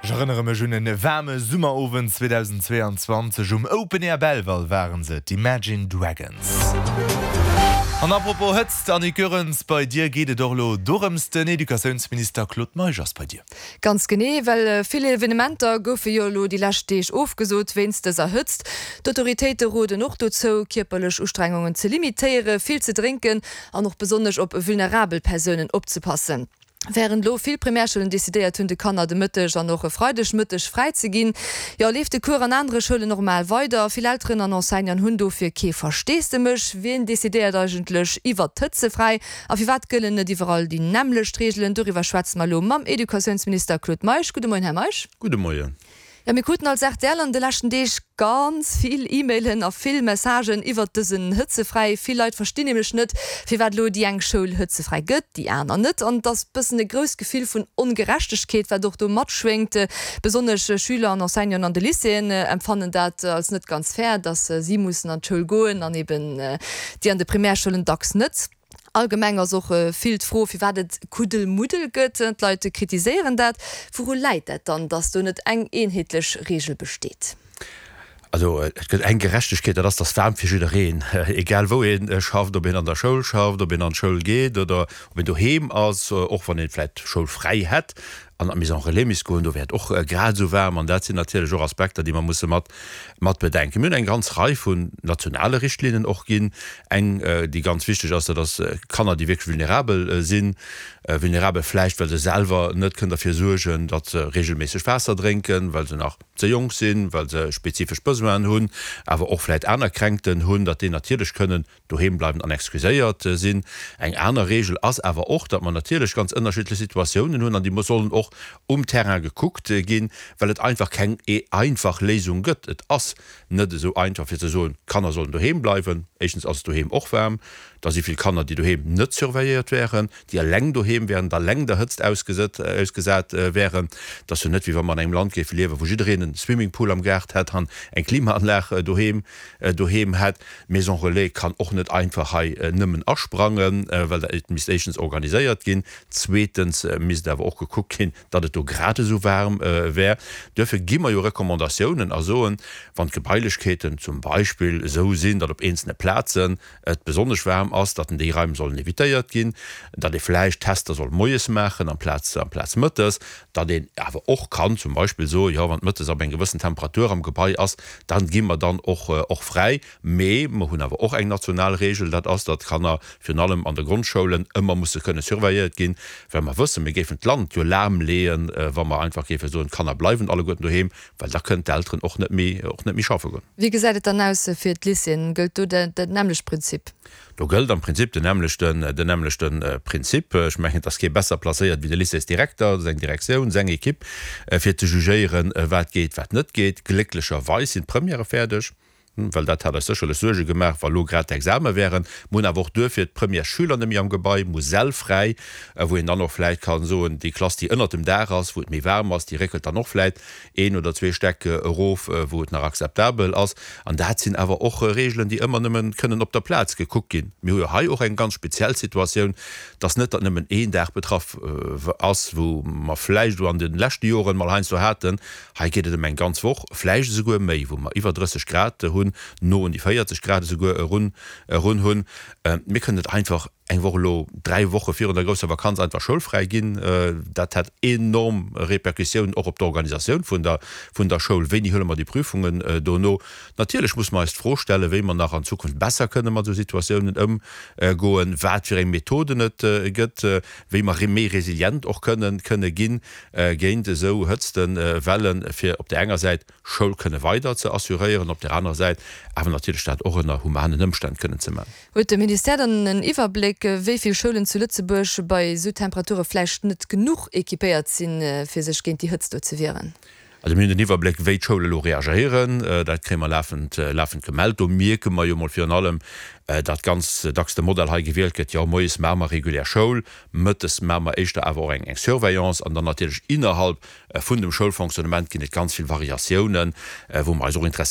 Ech erënnere mech un en waarme Summerowend 2022 um Open Air Belval waren se, d'Imagine Dragons. An apropos Hëtzt, Annick Goerens, bei dir geet et och elo dorëms, den Educatiounsminister Claude Meisch ass bei dir. Ganz genee, well vill Evenementer goufe jo elo déi lescht Deeg ofgesot wéinst dëser Hëtzt. D'Autoritéite roden och dozou, kierperlech Ustrengungen ze limitéiere, vill ze drénken an och besonnesch op vulnerabel Persounen opzepassen. Wärend elo vill Primärschoulen decidéiert hunn, de Kanner de Mëtteg an och e Freidegmëtteg fräi ze ginn, jo, leeft de Cours an anere Schoulen normal weider. Vill Elteren an Enseignanten hunn dofir kee Versteesdemech. Wien decidéiert eigentlech iwwert d'Hëtzefräi a firwat gëllen net iwwerall déi nämmlecht Reegelen? Doriwwer schwätze mer elo mam Educatiounsminister Claude Meisch. Gudde Moien, Här Meisch. Gudde Moien. Jo, mir kruten als rtl an de leschten Deeg ganz vill E-Mailen a vill Messagen iwwert dësen Hëtzefräi. Vill Leit verstinn nämlech net, firwat elo déi eng Schoul hëtzefräi gëtt, déi aner net. An et ass bëssen e grousst Gefill vun Ongerechtegkeet, wat och do matschwéngt. Besonnesch Schüler an Enseignanten an de Lycéeën empfannen dat als net ganz fair, dass si mussen an d'Schoul goen an eben déi an de Primärschoulen dacks net. Allgemeng ass och vill d'Fro, firwat et Kuddelmuddel gëtt. D'Leit kritiséieren dat. Wouru läit dat dann, datt do net eng eenheetlech Reegel besteet? Also et gëtt eng Gerechtegkeet, dat ass, dass waarm fir jiddereen, egal wou ee schafft, ob een an der Schoul schafft, ob een an d'Schoul geet oder ob een doheem ass, och wann ee vläicht schoulfräi hätt an an d'Maison relais misst goen, do wär et och grad esou waarm. An dat sinn natierlech och Aspekter, déi mer musse mat mat bedenken. Mir hunn eng ganz Rei vun nationale Richtlinnen och ginn. Eng, déi ganz wichteg ass, dat ass Kanner, déi wierklech vulnerabel sinn. Vulnerabel vläicht, well se selwer net kënnen derfir suergen, datt se regelméisseg Waasser drénken, well se nach ze jonk sinn, well se spezifesch Besoinen hunn, awer och vläicht aner Kränkten hunn, datt déi natierlech kënnen doheem bleiwen an excuséiert sinn. Eng aner Regel ass awer och, datt mer natierlech ganz ënnerschiddlech Situatiounen hunn an déi sollen och um Terrain gekuckt ginn, well et einfach keng einfach Léisung gëtt. Et ass net esou einfach fir ze soen, d'Kanner sollen doheem bleiwen. Éischtens ass et doheem och waarm. Da si vill Kanner, déi doheem net surveilléiert wären, déi eleng doheem wären, eleng der Hëtzt ausgesat wären. Et ass jo net, wéi wa mer an engem Land géife liewen, wou jiddereen e Swimmingpool am Gaart hätt an eng Klimaanlag doheem doheem hätt. D'Maison Relais kann och net einfach hei nëmmen asprangen, well et misst éischtens organiséiert ginn, zweetens misst awer och gekuckt ginn, datt et do grad esou waarm wär. Duerfir gi mer jo Recommandatiounen a soen, wann d'Gebailechkeeten zum Beispill esou sinn, datt op eenzelne Plazen et besonnesch waarm ass, datt déi Raim sollen evitéiert ginn, datt ee vläicht Tester soll moies maachen amplaz amplaz mëttes, datt een awer och kann zum Beispill soen, jo wann et mëttes ab eng gewëssen Temperatur am Gebai ass, dann gi mer dann och och fräi. Mee mer hunn awer och eng national Regel, dat ass, datt d'Kanner virun allem an de Grondschoulen ëmmer musse kënne surveilléiert ginn, well mer wëssen, mir géifen d'Land jo lahmleeën, wa mer einfach géife soen, d'Kanner bleiwen alleguerten doheem, well da kënnen d'Elteren och net méi och net méi schaffe goen. Wéi gesäit et dann aus fir d'Lycéeën? Gëllt do dat nämmlecht Prinzip? Do gëllt am Prinzip den nämmlechten, den nämmlechte Prinzip. Ech mengen, et ass kee besser placéiert wéi de Lycéesdirekter, seng Direktioun, seng Equipe, fir ze jugéieren, wat geet, wat net geet. Glécklecherweis sinn d'Premièrë fäerdeg, well dat hat eis sécherlech Suerge gemaach, wa lo grad d'Exame wären. Mir hunn awer och duerfir d'Premièresschüler net méi am Gebai, mir hu Säll fräi, wou een dann och vläicht ka soen, déi Klass, déi ënnert dem Daach ass, wou et méi waarm ass, déi réckelt dann och vläicht een oder zwee Stäck erof, wou et nach akzeptabel ass. An dat sinn awer och Regeln, déi ëmmer nëmme kënnen op der Plaz gekuckt ginn. Mir hu jo hei och eng ganz speziell Situatioun, dass net datt nëmmen een Dag betraff ass, wou mer vläicht elo an de leschte Joren mol heiansdo haten, hei geet et ëm eng ganz Woch, vläicht esouguer méi, wou mer iwwer 30 Grad hunn, no un déi 40 Grad esouguer erun hunn. Mir kënnen net einfach eng Woch elo, 3 Woche virun der grousser Vakanz einfach schoulfräi ginn, dat hätt enorm Repercussiounen och op d'Organisatioun vun der vun der Schoul. Wéini huele mer déi Prüfungen dono? Natierlech muss mer eis d'Fro stellen, wéi mer nach an Zukunft besser kënne mat esou Situatiounen ëmgoen, wat fir eng Methoden et gëtt, wéi mer méi resilient och kënnen kënne ginn géint esou Hëtztewellen, fir op där enger Säit Schoul kënne weider ze assuréieren, op där anerer Säit awer natierlech dat och ënner humanen Ëmstänn kënnen ze man. Huet de Ministère dann en Iwwerbléck, wéi vill Schoulen zu Lëtzebuerg bei esou Temperature vläicht net genuch equipéiert sinn, fir sech géint déi Hëtzt do ze wieren? Also mir hunn den Iwwerbléck, wéi d'Schoule elo reagéieren. Dat kréie mer lafend, lafend gemellt. Do mierke mer jo mol virun allem, datt ganz dacks de Modell hei gewielt gëtt, jo moies maache mer regulär Schoul, mëttes maache mer éischter awer och eng, eng Surveillance an dann natierlech innerhalb vun dem Schoulfonctionnement ginn et ganz vill Variatiounen, wou mer eis och interesséieren.